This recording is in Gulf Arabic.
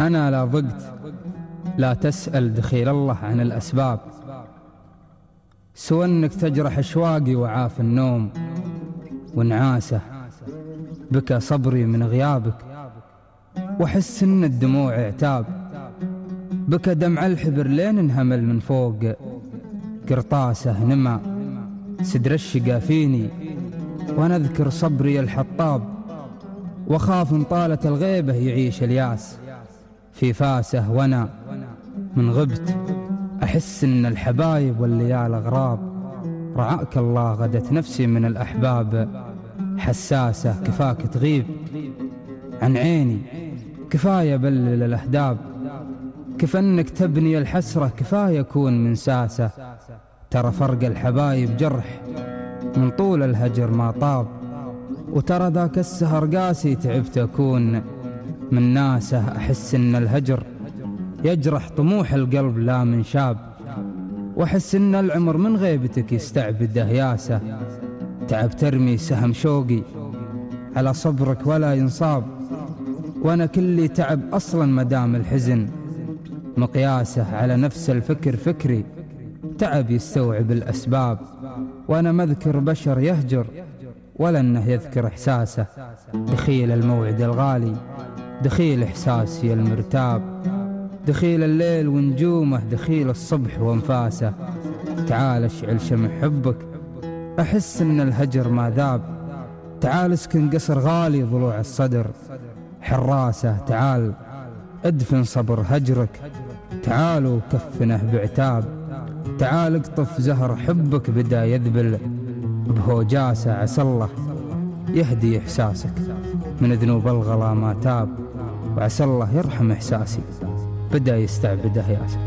أنا لا ضقت لا تسأل دخيل الله عن الأسباب، سوى أنك تجرح أشواقي وعاف النوم ونعاسه. بكى صبري من غيابك وحس أن الدموع اعتاب، بكى دمع الحبر لين انهمل من فوق قرطاسه. نما سدر الشقا فيني وأنا أذكر صبري الحطاب، وخاف إن طالت الغيبة يعيش الياس في فاسه. وأنا من غبت أحس إن الحبايب والليال أغراب، رعاك الله غدت نفسي من الأحباب حساسة. كفاك تغيب عن عيني، كفاية بلل الأهداب، كفنك تبني الحسرة، كفاية أكون منساسة. ترى فرق الحبايب جرح من طول الهجر ما طاب، وترى ذاك السهر قاسي تعبت أكون من ناسه. أحس إن الهجر يجرح طموح القلب لا من شاب، وأحس إن العمر من غيبتك يستعبده ياسه. تعب ترمي سهم شوقي على صبرك ولا ينصاب، وأنا كلي تعب أصلا مدام الحزن مقياسه. على نفس الفكر فكري تعب يستوعب الأسباب، وأنا مذكر بشر يهجر ولا أنه يذكر إحساسه. دخيل الموعد الغالي، دخيل إحساسي المرتاب، دخيل الليل ونجومه، دخيل الصبح وانفاسه. تعال اشعل شمع حبك، أحس إن الهجر ما ذاب. تعال اسكن قصر غالي ضلوع الصدر حراسه. تعال ادفن صبر هجرك، تعالوا كفنه بعتاب. تعال اقطف زهر حبك بدا يذبل بهوجاسه. عسى الله يهدي إحساسك من ذنوب الغلا ما تاب، وعسى الله يرحم إحساسي بدا يستعبده ياسه.